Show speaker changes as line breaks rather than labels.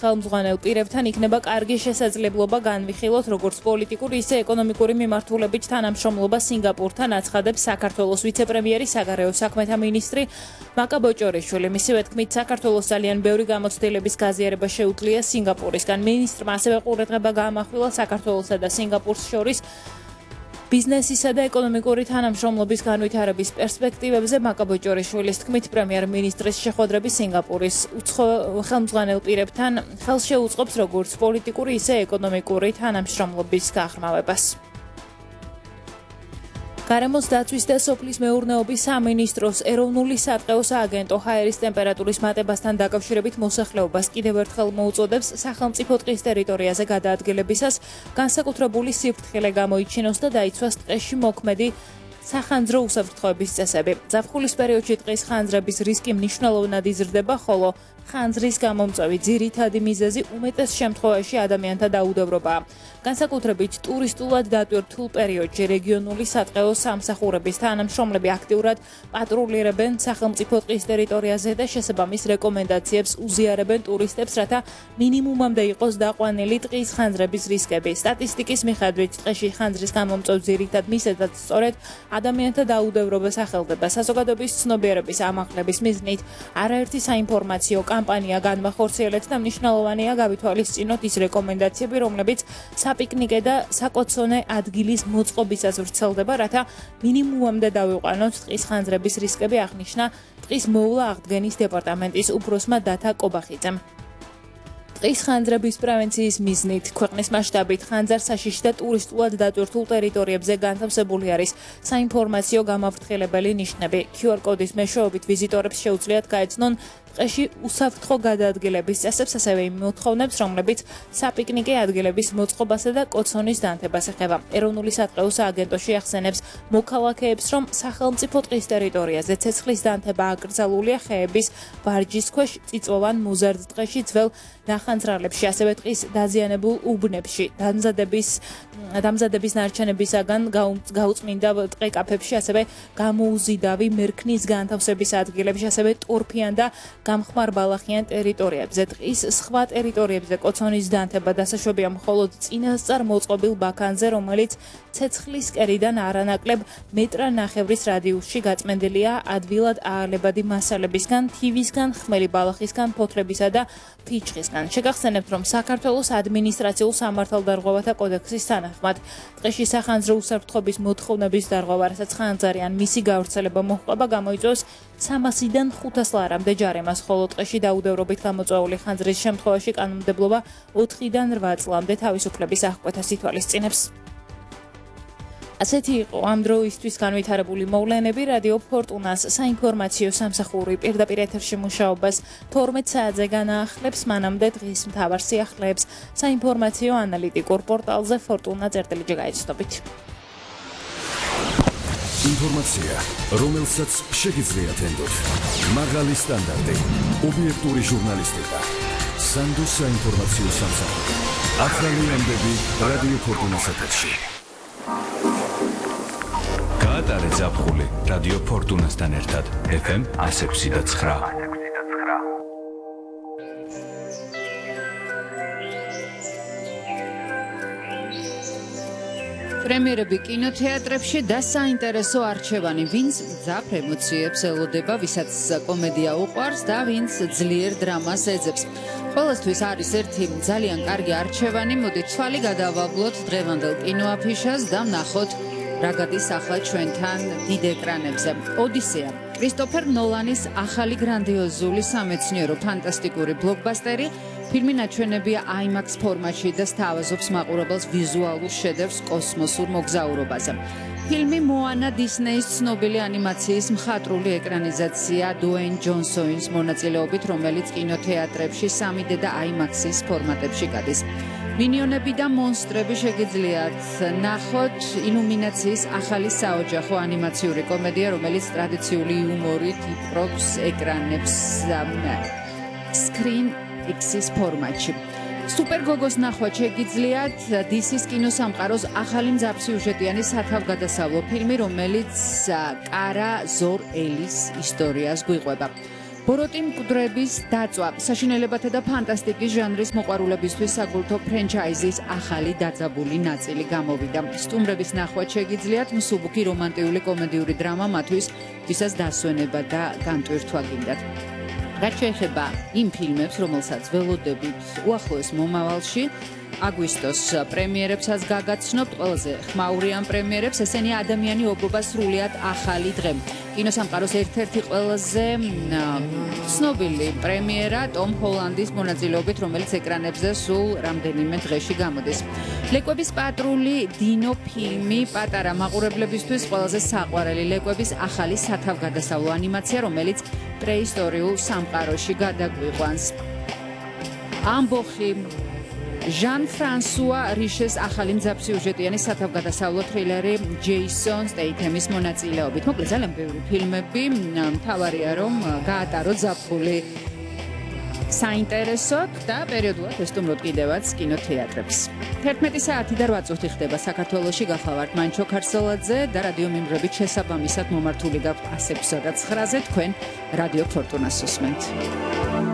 ხელმძღვანელ პირებთან იქნება კარგი შესაძლებლობა განვიხილოთ როგორც პოლიტიკური, ისე ეკონომიკური მიმართულებით თანამშრომლობა სინგაპურთან, აცხადებს საქართველოს ვიცე-პრემიერი, საგარეო საქმეთა მინისტრი მაკა ბოჭორიშვილი. მისივე თქმით, საქართველოს ძალიან ბევრი გამოცდილების გაზიარება შეუძლია სინგაპურისგან. მინისტრმა ასევე ყურადღება გაამახვილა საქართველოსა და სინგაპურს შორის ბიზნესისა და ეკონომიკური თანამშრომლობის განვითარების პერსპექტივებზე. მაკა ბოჭორიშვილის თქმით, პრემიერ-მინისტრის შეხვედრები სინგაპურის ხელმძღვანელ პირებთან ხელს შეუწყობს როგორც პოლიტიკური, ისე ეკონომიკური თანამშრომლობის გაღრმავებას. გარემოს დაცვის და სოფლის მეურნეობის სამინისტროს ეროვნული სატყეო სააგენტო ჰაერის ტემპერატურის მატებასთან დაკავშირებით მოსახლეობას კიდევ ერთხელ მოუწოდებს სახელმწიფო ტყის ტერიტორიაზე გადაადგილებისას განსაკუთრებული სიფრთხილე გამოიჩინოს და დაიცვას ტყეში მოქმედი სახანძრო უსაფრთხოების წესები. ზაფხულის პერიოდში ტყის ხანძრების რისკი მნიშვნელოვნად იზრდება, ხოლო ხანძრის გამომწვევი ძირითადი მიზეზი უმეტეს შემთხვევაში ადამიანთა დაუდევრობაა. განსაკუთრებით ტურისტულად დატვირთულ პერიოდში რეგიონული სატყეო სამსახურების თანამშრომლები აქტიურად პატრულირებენ სახელმწიფო ტყის ტერიტორიაზე და შესაბამის რეკომენდაციებს უზიარებენ ტურისტებს, რათა მინიმუმამდე იყოს დაყვანილი ტყის ხანძრების რისკები. სტატისტიკის მიხედვით ტყეში ხანძრის გამომწვევ ძირითად მიზეზად სწორედ ადამიანთა დაუდევრობა სახელდება. საზოგადოების ცნობიერების ამაღლების მიზნით არაერთი საინფორმაციო კამპანია განმახორციელეთ და მნიშვნელოვანია გავითვალისწინოთ ის რეკომენდაციები, რომლებიც საპიკნიკე და საკოცონე ადგილის მოწყობისას ვრცელდება, რათა მინიმუმამდე დავიყვანოთ ტყის ხანძრების რისკები, აღნიშნა ტყის მოვლა აღდგენის დეპარტამენტის უფროსმა დათა კობახიძემ. ტყის ხანძრების პრევენციის მიზნით ქვეყნის მასშტაბით ხანძარ-საშიში და ტურისტულად დატვირთულ ტერიტორიებზე განთავსებული არის საინფორმაციო გამაფრთხილებელი ნიშნები. QR კოდის მეშვეობით ვიზიტორებს შეუძლიათ გაეცნონ ტყეში უსაფრთხო გადაადგილების წესებს, ასევე იმ მოთხოვნებს, რომლებიც საპიკნიკე ადგილების მოწყობასა და კოცონის დანთებას ეხება. ეროვნული სატყეო სააგენტოში ახსენებს მოქალაქეებს, რომ სახელმწიფო ტყის ტერიტორიაზე ცეცხლის დანთება აკრძალულია ხეების ვარჯის ქვეშ, წიწვოვან მოზარდ ტყეში, ძველ ნახანძრალებში, ასევე ტყის დაზიანებულ უბნებში, დამზადების ნარჩენებისაგან გაუწმინდა ტყე-კაფეებში, ასევე გამოუზიდავი მერქნის განთავსების ადგილებში, ასევე ტორფიან და გამხმარ ბალახიან ტერიტორიებზე. ტყის სხვა ტერიტორიებზე კოცონის დანთება დასაშვებია მხოლოდ წინასწარ მოწყობილ ბაქანზე, რომელიც ცეცხლის კერიდან არანაკლებ მეტრ-ნახევრის რადიუსში გაწმენდილია ადვილად აალებადი მასალებისგან, თივისგან, ხმელი ბალახისგან, ფოთლებისა და ფიჭვისგან. შეგახსენებთ, რომ საქართველოს ადმინისტრაციულ სამართალდარღვევათა კოდექსის თანახმად ტყეში სახანძრო უსაფრთხოების მოთხოვნების დარღვევა, რასაც ხანძარი ან მისი გავრცელება მოჰყვება, გამოიწვევს 300-დან 500 ლარამდე ჯარემას, ხოლო ტყეში დაუდევრობით გამოწვეული ხანძრის შემთხვევაში კანონმდებლობა 4-დან 8 წლამდე თავისუფლების აღკვეთას ითვალისწინებს. ასეთი იყო ამ დროისთვის განვითარებული მოვლენები. რადიო ფორტუნას საინფორმაციო სამსახური პირდაპირ ეთერში მუშაობას 12 საათზე განაახლებს, მანამდე დღის მთავარ სიახლეებს საინფორმაციო ანალიტიკურ პორტალზე fortuna.gr გაიცნობით.
ინფორმაცია, რომელსაც შეგიძლიათ ენდოთ. მაღალი სტანდარტი, ობიექტური ჟურნალისტიკა. სანდო საინფორმაციო სამსახური. ახალი ამბები რადიო ფორტუნას ეთერში. გაატარე ზაფხული რადიო ფორტუნასთან ერთად FM 106.9.
პრემიერები კინოთეატრებში და საინტერესო არჩევანი, ვინც მძაფრ ემოციებს ელოდება, ვისაც კომედია უყვარს და ვინც ძლიერ დრამას ეძებს. ყველასთვის არის ერთი ძალიან კარგი არჩევანი, მოდით თვალი გადავაბლოთ დღევანდელ კინოაფიშას და ვნახოთ რა გადის ახლა ჩვენთან დიდ ეკრანებზე. ოდისეა, კრისტოფერ ნოლანის ახალი გრანდიოზული სამეცნიერო ფანტასტიკური ბლოკბასტერი. ფილმი ნაჩვენებია IMAX ფორმატში და სთავაზობს მაყურებელს ვიზუალურ შედევრს კოსმოსურ მოგზაურობაზე. ფილმი მოანა დისნეის ცნობილი ანიმაციის მხატვრული ეკრანიზაცია დუეინ ჯონსონის მონაწილეობით, რომელიც კინოთეატრებში 3D და IMAX-ის ფორმატებში გადის. მინიონები და მონსტრები შეგიძლიათ ნახოთ. illuminatsiis ახალი საოჯახო ანიმაციური კომედია, რომელიც ტრადიციული იუმორით იპყრობს ეკრანებს Screen X-ის ფორმატში. სუპერგოგოს ნახვა შეგიძლიათ DC-ის კინოსამყაროს ახალი მძაფრსიუჟეტიანი სათავგადასავლო ფილმი, რომელიც კარა ზორ ელის ისტორიას გვიყვება. ბოროტი მკვდრების დაწვა საშინელებათა და ფანტასტიკის ჟანრის მოყვარულებისთვის საკულტო ფრენჩაიზის ახალი დაძაბული ნაწილი გამოვიდა. სტუმრების ნახვაც შეგიძლიათ მსუბუქი რომანტიული კომედიური დრამა მათთვის, ვისაც დასვენება და განტვირთვა გინდათ. რაც შეეხება იმ ფილმებს, რომელსაც ველოდებით უახლოეს მომავალში, აგვისტოს პრემიერებსაც გაგაცნობთ, ყველაზე ხმაურიან პრემიერებს, ესენია ადამიანი ობობა სრულიად ახალი დღე. კინოსამყაროს ერთ-ერთი ყველაზე ცნობილი პრემიერა ტომ ჰოლანდის მონაწილეობით, რომელიც ეკრანებზე სულ რამდენიმე დღეში გამოდის. ლეკვების პატრული დინო ფილმი პატარა მაყურებლებისთვის ყველაზე საყვარელი ლეკვების ახალი სათავგადასავლო ანიმაცია, რომელიც პრეისტორიულ სამყაროში გადაგვიყვანს. ამბოხი ჟან ფრანსუა რიშეს ახალი მძაფსიუჟეტიანი სათავგადასავლო თრილერი ჯეისონ სტეითემის მონაწილეობით. მოკლედ ძალიან ბევრი ფილმები, მთავარია რომ გაატაროთ ზაფხული საინტერესოდ და პერიოდულად ესტუმროთ კიდევაც კინოთეატრებს. 11 საათი და 8 წუთი ხდება საქართველოში. გახლავართ მანჩო ქარსელაძე და რადიო მიმღრებით შესაბამისად მომართული გაქვთ 100-ზე და 9-ზე თქვენ რადიო ფორტუნას უსმენთ.